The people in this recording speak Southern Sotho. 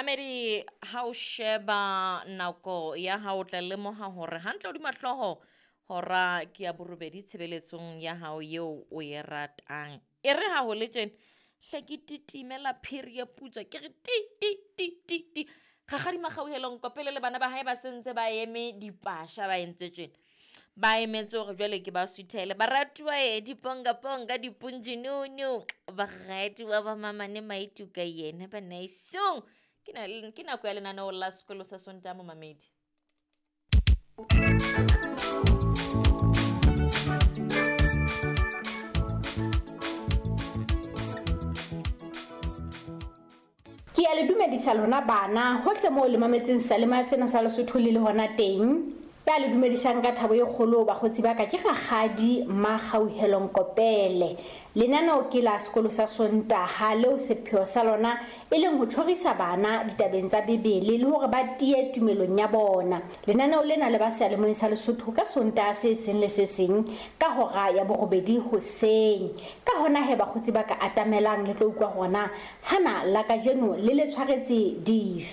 Mamedi, ha o sheba nako ya hao o tla lemoha hore hantle hodima hlooho hora ke ya borobedi tshebeletsong ya hao eo o e ratang. E re ha ho le tjena, hle ke titimela phiri e putswa ke re ti ti ti ti ti. Rakgadi Makgauhelong Kopele le bana ba hae ba sentse ba eme dipasha ba entse tjena. Ba emetse hore jwale ke ba suthele. Baratuwa e dipongaponga dipunjinunu, baratuwa ba mamane Maituka yena banaisong. Ke na ke nako ya lenaneo la sekolo sa Sontaha momamedi. Ke ya le dumedisa lona bana hohle moo le mametseng seyalemoya sena sa Lesotho le le hona teng. Ya le dumedisang ka thabo e kgolo bakgotsi ba ka ke Rakgadi Makgauhelo Nkopele. Lenaneo ke la sekolo sa Sontaha leo sepheo sa lona e leng ho tjhorisa bana ditabeng tsa Bibele le hore ba tiye tumelong ya bona. Lenaneo lena le ba seyalemoyeng sa Lesotho ka Sontaha se seng le se seng ka hora ya borobedi hoseng. Ka hona he bakgotsi ba ka atamelang le tlo utlwa hore na hana la kajeno le le tshwaretse dife.